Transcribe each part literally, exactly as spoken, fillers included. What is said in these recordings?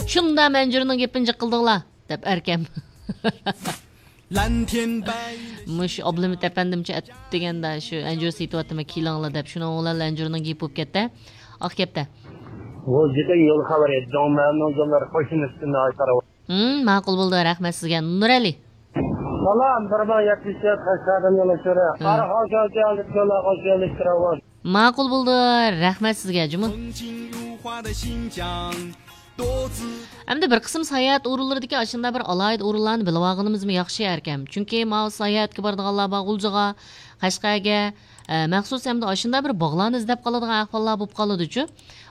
شۇنداق ئەنجۈرنىڭ گېپىنى جىق قىلدىڭلار دەپ ئەركەم. مۇشۇ ئابلىمىت ئەپەندىمچە ئەتىگەندە شۇ ئەنجۈر سېتىۋاتىمەن، كېلىڭلار دەپ، شۇنىڭ بىلەن ئەنجۈرنىڭ گېپى بولۇپ كەتتى. ئاق كەپتە. بۇ جىددىي يول خەۋىرى، دۆڭمەننىڭ يوللىرى قوشۇن ئۈستىنى ئاشتۇرۇۋاتىدۇ. ھىم، ماقۇل بولدى، رەھمەت سىزگە. نۇرئەلى. سالام، بىر مىڭ يەتمىش تۆت قەشقەردىن يول ئۇچۇرى. ھىم. قاراخان شاۋچىياڭلىق يوللار قوشۇن ئۈستىنى. ماقۇل بولدى، رەھمەت سىزگە، جۇمۇ. ئەمدى بىر قىسىم ساياھەت ئورۇنلىرىدىكى ئاشۇنداق بىر ئالاھىدە ئورۇنلارنى بىلىۋالغىنىمىزمۇ ياخشى ئەركەم. چۈنكى ماۋۇ ساياھەتكە بارىدىغانلار بار غۇلجىغا، قەشقەرگە، ئە، مەخسۇس ھەمدە ئاشۇنداق بىر باغلارنى ئىزدەپ قالىدىغان ئەھۋاللار بولۇپ قالىدۇچۇ.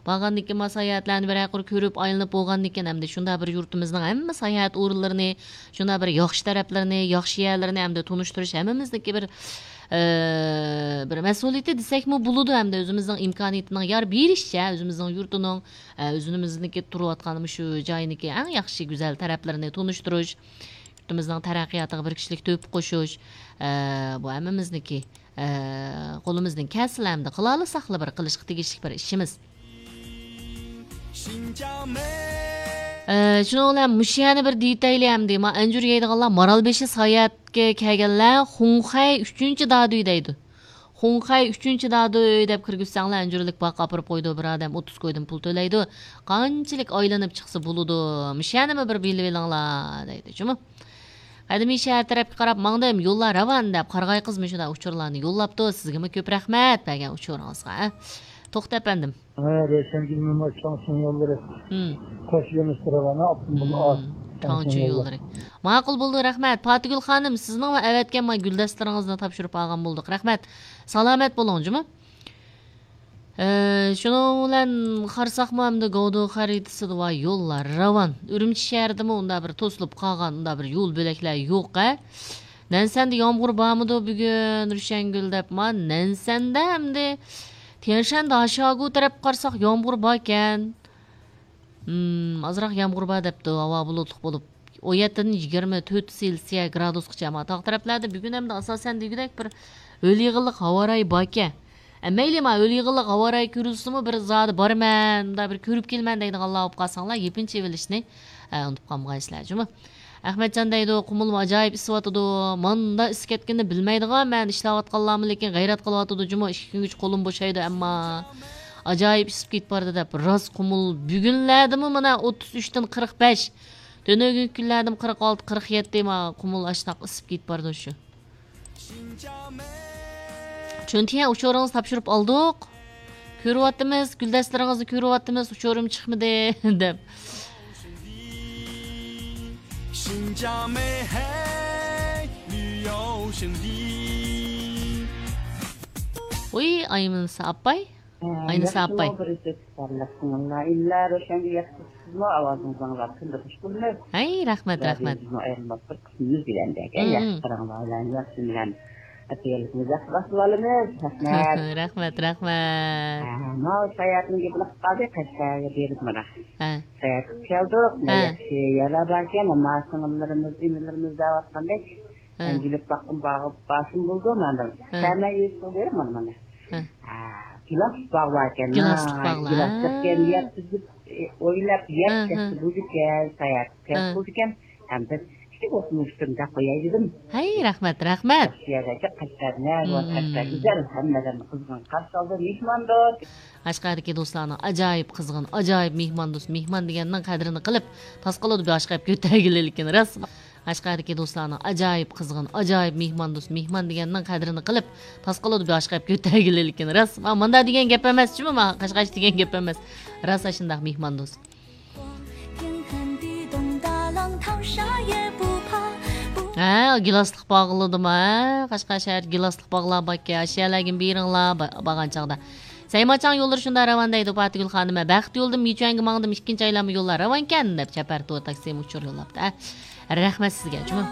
بارغاندىن كېيىن ما ساياھەتلەرنى بىرەر قۇر كۆرۈپ ئايلىنىپ بولغاندىن كېيىن ئەمدى شۇنداق بىر يۇرتىمىزنىڭ ھەممە ساياھەت ئورۇنلىرىنى، شۇنداق بىر ياخشى تەرەپلىرىنى، ياخشى يەرلىرىنى ئەمدى تونۇشتۇرۇش ھەممىمىزنىڭكى بىر، ئە، بىر مەسئۇلىيىتى دېسەكمۇ بولىدۇ. ئەمدى ئۆزىمىزنىڭ ئىمكانىيىتىنىڭ يار بېرىشىچە ئۆزىمىزنىڭ يۇرتىنىڭ، ئە، ئۆزىمىزنىڭكى تۇرۇۋاتقان مۇشۇ جاينىڭكى ئەڭ ياخشى، گۈزەل تەرەپلىرىنى تونۇشتۇرۇش، يۇرتىمىزنىڭ تەرەققىياتىغا بىر كىشىلىك تۆھپە قوشۇش، ئە، بۇ ھەممىمىزنىڭكى، ئە، قولىمىزدىن كەلسىلا ئەمدى قىلالىساقلا بىر قىلىشقا تېگىشلىك بىر ئىشىمىز. ئە، شۇنىڭ بىلەن مۇشۇ يەرنى بىر دېيىتەيلى ئەمدى. ما ئەنجۈر يەيدىغانلار مارالبېشى ساياھەتكە كەلگەنلەر خۇڭخەي ئۈچىنچى دادۈي دەيدۇ. خۇڭخەي ئۈچىنچى دادۈي دەپ كىرگۈزسەڭلار، ئەنجۈرلۈك باغقا ئاپىرىپ قويىدۇ، بىر ئادەم ئوتتۇز كويدىن پۇل تۆلەيدۇ. قانچىلىك ئايلىنىپ چىقسا بولىدۇ، مۇشۇنىمۇ بىر بىلىۋېلىڭلار دەيدۇ، جۇمۇ. قەدىمىي شەھەر تەرەپكە قاراپ ماڭدىم، يوللار راۋان دەپ قارىغاي قىز مۇشۇنداق ئۇچۇرلارنى يوللاپتۇ. سىزگىمۇ كۆپ رەھمەت بەرگەن ئۇچۇرىڭىزغا. توختى ئەپەندىم. ھە، روشەنگۈل موماي تاڭچىڭ يوللىرى. ھىم. قوش يۆنىلىش راۋان، ئاپتوموبىل ھىم. ئاز. تاڭچىڭ يوللىرى. ماقۇل بولدى، رەھمەت. پاتىگۈل خانىم، سىزنىڭ ۋە ئەۋەتكەن ما گۈلدەستىلىرىڭىزنى تاپشۇرۇپ ئالغان بولدۇق. رەھمەت. سالامەت بولۇڭ، جۇمۇ. ئە، شۇنىڭ بىلەن قارىساقمۇ ئەمدى گاۋدۇ خەرىتىسىدە ۋاي يوللار راۋان. ئۈرۈمچى شەھىرىدىمۇ ئۇنداق بىر توسۇلۇپ قالغان ئۇنداق بىر يول بۆلەكلەر يوق، ھە. نەنسەندە يامغۇر بارمىدۇ بۈگۈن، روشەنگۈل دەپ ما نەنسەندە ئەمدى تيەنشەن داشاگۇ تەرەپكە قارىساق يامغۇر باركەن. ھىم، ئازراق يامغۇر بار دەپتۇ، ھاۋا بۇلۇتلۇق بولۇپ، ئون يەتتىدىن يىگىرمە تۆت سېلسىيە گرادۇسقىچە، ئەمما تاغ تەرەپلەردە بۈگۈن ھەمدە ئاساسەن دېگۈدەك بىر ھۆل يېغىنلىق ھاۋا رايى باركەن. ئە، مەيلى، ما ھۆل يېغىنلىق ھاۋا رايى كۆرۈلسىمۇ، بىر زادى بارىمەن، مۇنداق بىر كۆرۈپ كېلىمەن دەيدىغانلار بولۇپ قالساڭلار، يېپىنچا ئېلىشنى، ئە، ئۇنتۇپ قالمىغايسىلەر، جۇمۇ. ئەخمەتجان دەيدۇ، قۇمۇلمۇ ئاجايىپ ئىسسىۋاتىدۇ. ماندا ئىسسىپ كەتكىنىنى بىلمەيدىغان مەن، ئىشلەۋاتقانلارمۇ لېكىن غەيرەت قىلىۋاتىدۇ جۇمۇ، ئىككى كۈنگىچە قولۇم بوشايدۇ ئەمما. ئاجايىپ ئىسسىپ كېتىپ بارىدۇ دەپ، راست قۇمۇل بۈگۈنلەردىمۇ مانا ئوتتۇز ئۈچتىن قىرىق بەش. تۆنۆگۈنكى كۈنلەردىمۇ قىرىق ئالتە، قىرىق يەتتە، ما قۇمۇل ئاشۇنداق ئىسسىپ كېتىپ بارىدۇ شۇ. چۈنتىيە ئۇچۇرىڭىزنى تاپشۇرۇپ ئالدۇق. كۆرۈۋاتىمىز، گۈلدەستىلىرىڭىزنى كۆرۈۋاتىمىز، ئۇچۇرۇم چىقمىدى، دەپ. ۋۇي، ئاينىسا ئاپاي. ئاينىسا ئاپاي. ياخشىمۇ، بىر ئىززەت ئىپادىلەپ قىلىڭلار. ئىللا روشەنگە ياقتۇرسىزمۇ، ئاۋازىڭىزنى ئاڭلاپ كۈندە خۇش بولىمىز. ھەي، رەھمەت، رەھمەت. رادىيومىزنىڭ ئايرىلماس بىر قىسمىمىز دېگەندەك. ھەي، ياخشى قاراڭلار بىلەن، ياخشى بىلەن. ئەتىگەنلىكىمىز ياخشى باشلىۋالىمىز. رەھمەت. رەھمەت، رەھمەت. ھە، ماۋۇ ساياھەتنىڭ گېپىنى قىلىپ قالدى، قەشقەرگە بېرىپ مانا. ھە. ساياھەت قىلىپ كەلدۇق. ھە. ياخشى يەرلەر باركەن، ئەمما سىڭىللىرىمىز، ئىنىلىرىمىز دەۋاتقاندەك. ھە. مەن كېلىپ باققىن، باغ-، باشىم بولدى مانا. ھە. سەمە يېزىسىغا بېرىپ مانا، مانا. ھە. ھە، گىلاسلىق باغ باركەن. گىلاسلىق ھە، باغلار. گىلاس ھە. يەپ بىزگە، ئە، ئويلاپ يەپ ھە، كەتسە ھە. بولىدىكەن، ساياھەت ھە. بولىدىكەن. ھەم بىز ئىككى بولسىمۇ ئۈستۈمدە قوياي دېدىم. ھەي، رەھمەت، رەھمەت. شۇ يەردە قەشقەر نەگۇ، مم. قەشقەر گۈزەل، ھەممىدىن قىزغىن قارشى ئالدى، مېھماندوست. قەشقەردىكى دوستلارنىڭ ئاجايىپ قىزغىن، ئاجايىپ مېھماندوست، مېھمان دېگەننىڭ قەدرىنى قىلىپ، تاس قالىدۇ باشقا گەپ كۆتەرگىلى لېكىن راست. قەشقەردىكى دوستلارنىڭ ئاجايىپ قىزغىن، ئاجايىپ مېھماندوست، مېھمان دېگەننىڭ قەدرىنى قىلىپ، تاس قالىدۇ باشقا گەپ كۆتەرگىلى لېكىن راست. ما، ماندا دېگەن گەپ ئەمەس، جۇمۇ، ما، قەشقەرچە دېگەن گەپ ئەمەس. راست ئاشۇنداق مېھماندوست. ھە، گىلاسلىق باغلىدىما، ھە؟ قەشقەر شەھەردە گىلاسلىق باغلار باركەن، ئاشۇ يەرلەرگە بېرىڭلار، با-، بارغان چاغدا. سەيماچاڭ يوللىرى شۇنداق راۋان دەيدۇ، پاتىگۈل خانىمە. بەخت يولىدىن مىچۈەنگە ماڭدىم، ئىككىنچى ئايلانما يوللار راۋانكەن، دەپ چەپەر تور تاكسىمۇ ئۇچۇر يوللاپتۇ، ھە. رەھمەت سىزگە، جۇمۇ.